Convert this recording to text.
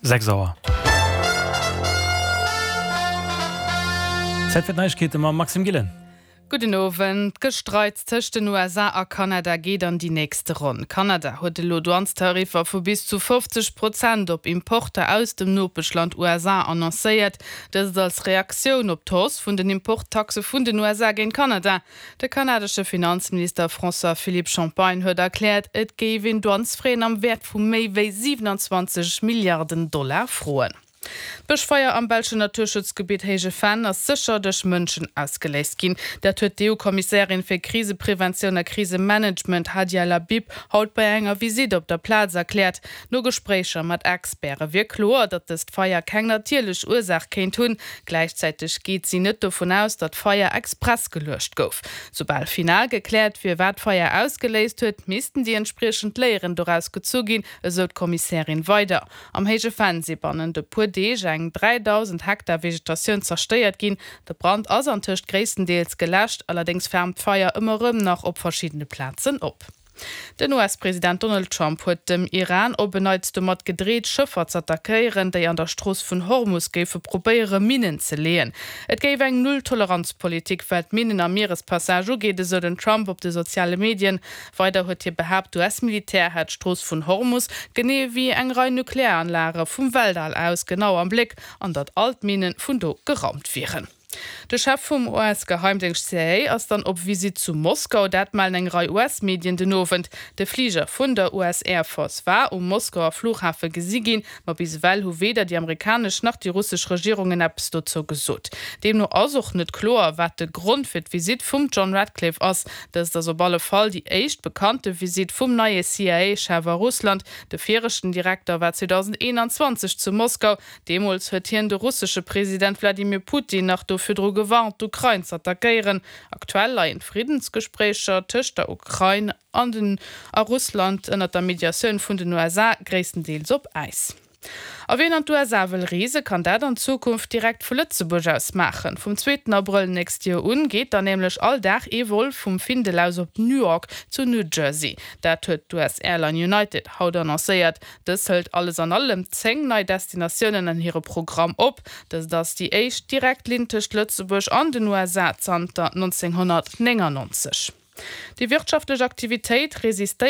6 Auer. Zäit fir d'Neiegkeete mam Maxime Gillen. Gudden Owend. D'Gestreits tëscht den USA a Kanada geet an déi nächste Ronn. Kanada huet elo Douanestariffer vu bis zu 50 Prozent op Importer aus dem Nopeschland USA annoncéiert. Dëst als Reaktioun op d'Hausse vun den Importtaxe vun den USA géint Kanada. De kanadesche Finanzminister François-Philippe Champagne huet erkläert, et géif een Douanesfraisen am Wäert vu méi wéi 27 Milliarden Dollar froen. D'Bëschfeier am belschen Naturschutzgebitt Héije Venn ass sécher duerch Mënschen ausgeléist ginn. Dat huet d'EU-Kommissärin fir Krisepreventioun a Krisemanagement Hadja Lahbib haut bei enger Visitt op der Plaz erkläert. No Gespréicher mat Experte wier kloer, datt dëst Feier keng natierlech Ursaach kéint hunn. Gläichzäiteg geet si net dovun aus, datt d'Feier express geluecht gouf. Soubal final gekläert wier, wat d'Feier ausgeléist huet, missten déi entspriechend Léieren doraus gezu ginn, esou d'Kommissärin weider. Am Héije Venn si bannent e puer Deeg eng 3.000 Hektar Vegetatioun zerstéiert ginn. De Brand ass antëscht gréisstendeels geläscht, allerdéngs flamt d'Feier ëmmer erëm nach op verschiddene Plazen op. Den US-President Donald Trump huet dem Iran op en Neits domat gedreet, Schëffer z'attackéieren, déi an der Strooss vun Hormus géife probéiere Minnen ze leeën. Et géif eng Null-Toleranz-Politik wat d'Minnen am Mierespassage ugeet, esou den Trump op de soziale Medien. Weider huet hie behaapt, d'US-Militär hätt d'Strooss vun Hormus, genee wéi eng Rei Nuklearanlage vum Weltall aus, genau am Bléck an datt all d'Minne vun do geraumt wieren. De Chef vum US-Geheimdéngscht CIA ass dann op Visitt zu Moskau. Dat mellen eng Rei US-Medien den Owend. De Fliger vun der US Air Force war um Moskauer Flughafe gesi ginn, ma bis ewell hu weder déi amerikanesch nach déi russesch Regierungen eppes dozou gesot. Deemno ass och net kloer, wat de Grond fir d'Visitt vum John Ratcliffe ass. Dëst ass op alle Fall déi éischt bekannte Visitt vum neie CIA-Chef a Russland. De viregten Direkter war 2021 zu Moskau. Deemools huet hien de russesche President Wladimir Putin nach do virdru gewarnt, d'Ukrain z'attackéieren. Aktuell leien d'Friddensgespréicher tëscht der Ukrain an den a Russland ënnert der Mediatioun vun den USA gréisstendeels op Äis. A wien an d'USA wëll reese kann dat an Zukunft direkt vu Lëtzebuerg aus maachen. Vum zweeten Abrëll nächst Joer un geet dann nämlech all Dag ee Vol vum Findel aus op Newark zu New Jersey. Dat huet d'US-Airline United haut annoncéiert. Dës hëlt alles an allem 10 nei Destinatiounen an hire Programm op. Dëst ass déi éischt direkt Linn tëscht Lëtzebuerg an den USA zanter 1999. Déi wirtschaftlech Aktivitéit resistéiert.